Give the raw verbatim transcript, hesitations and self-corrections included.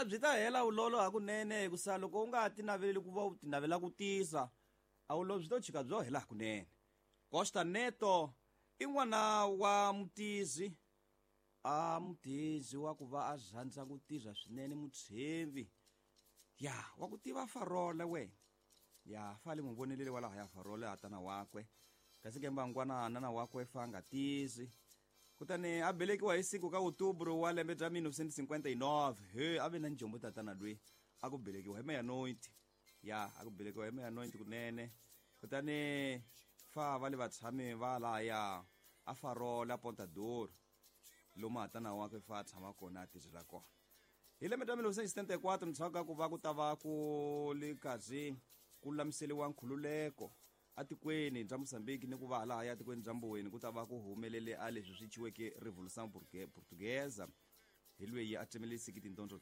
A byi ta hela vulolo hakunene hikusa loko u nga ti naveleli ku va u ti navela ku tisa a vulolo byi to chika byo hela hakunene. Costa Neto i n'wana wa mutizi a mutizi wa ku va a rhandza ku tirha swinene mutshembi ya wa ku tiva Farole wena ya fale n'wi vonelele wa laha ya Farole a tana wakwe kasi ke mbangwana nana wakwe fa nga tizi kutani a belekiwa hi siku ka Outubro wa lembe bya mille neuf cent cinquante-neuf. He a ve na njombo tatana lweyi a ku belekiwa hi meia-noite ya a ku belekiwa hi meia-noite kunene. Kutani fa va le vatshami va lahaya a Farola Ponta Douro lomu hatana wakwe fa a tshama kona a tirhela kona. Hi lembe ra mille neuf cent setenta e quatro ndzhaku ka ku va ku ta va ku li karhi ku lulamiseriwa nkhululeko atikweni bya Mozambique ni ku va lahaya atikweni bya Mboweni ku ta va ku humelele a leswi swi ciweke Revolução Portuguesa hi lweyi a tsemelisiki tindondzo